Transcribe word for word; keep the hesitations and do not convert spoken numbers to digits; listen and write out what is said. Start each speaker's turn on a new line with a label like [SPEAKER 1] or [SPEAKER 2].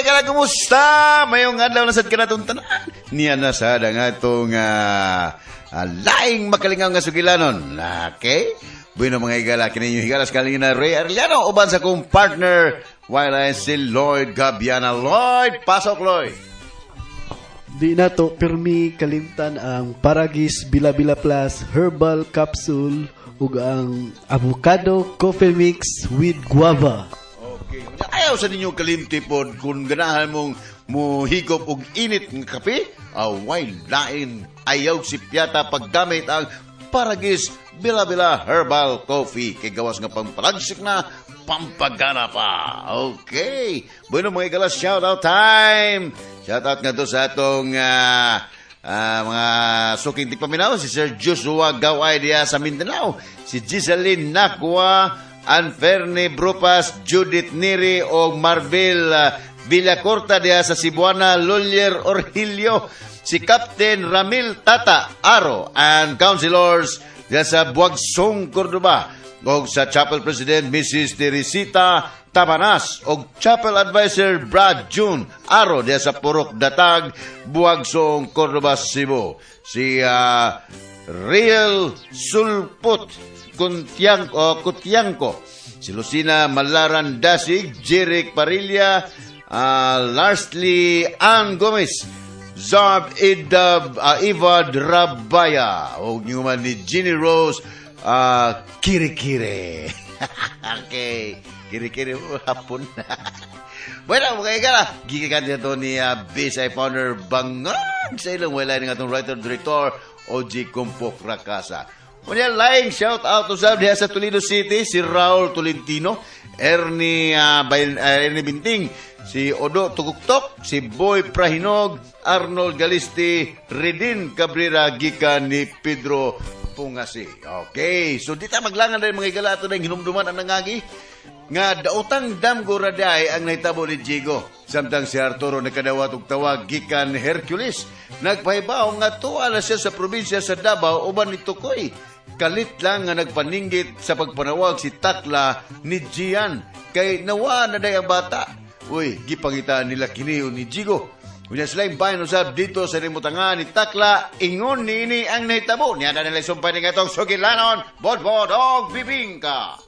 [SPEAKER 1] Mga igala, kumusta? Mayong adlaw na sad kanatong tanan. Niya na sad ang atong uh, uh, laing makalingaw nga sugilanon. Okay? Bueno, mga higala, kini inyong higala sa na Ray Arellano, uban sa kong partner, while I si Lloyd Gabiana. Lloyd, pasok, Lloyd!
[SPEAKER 2] Di na to pirmi kalimtan ang Paragis Bila-Bila Plus Herbal Capsule ug ang Avocado Coffee Mix with Guava.
[SPEAKER 1] Okay. Ayaw sa ninyo kalimti pod kung ganahan mong muhigop og init ng kape, away lain ayaw si Piata paggamit ang Paragis Bila-Bila Herbal Coffee. Kay gawas nga pampalagsik na, pampagana pa. Okay. Bueno, mga igala, shout out time. Shout out nga to sa atong uh, uh, mga suking tigpaminaw, si Sir Joshua Gaway diya sa Mindanao, si Giseline Nakwa, Anferne Brupas, Judith Neri o Marvel uh, Villacorta diya sa Cebuana, Lolier Orhilio, si Captain Ramil Tata Aro and councilors diya sa Buagsong, Cordoba, og sa Chapel President Missus Teresita Tabanas og Chapel Advisor Brad June Aro diya sa Purok Datag, Buagsong, Cordoba, Cebu. Si uh, Real Sulput Kuntiang, uh, Kutiangko, si Lucina Malaran Dasig, Jeric Parilla, uh, Larsley Ann Gomez, Zarb Idab, uh, Ivad Rabaya, o yung ni Ginny Rose uh, Kirikiri. Okay. Kiri-kiri, oh, hapon. Bueno, mga igala, gigikan dito ni uh, B S I founder Bangag sa ilang wala ng atong writer-director O G Kumpok Rakasa. Unya, laing shout out to sa diha sa Toledo City, si Raul Tolentino, Ernie, uh, Bail, uh, Ernie Binting, si Odo Tuguktok, si Boy Prahinog, Arnold Galisti, Redin Cabrera, gikan ni Pedro Pungasi. Okay, so di ta maglangan rin, mga igala, ato na yung hinumduman ang nangagi nga daotang damgo raday ang nahitabo ni Jigo. Samtang si Arturo nakadawat og tawag gikan ni Hercules, nagpahibaw nga tuwa na siya sa probinsya sa Davao uban ni Tukoy. Kalit lang nga nagpaninggit sa pagpanawag si Takla ni Gian kay nawa na day ang bata. Uy, gipangita nila kini ni Jigo. Unya sila yung bayan usab dito sa limutangan ni Takla, ingon niini ang nahitabo. Niya na nila sumpay ni atong sugilanon, Bodbod og Bibingka.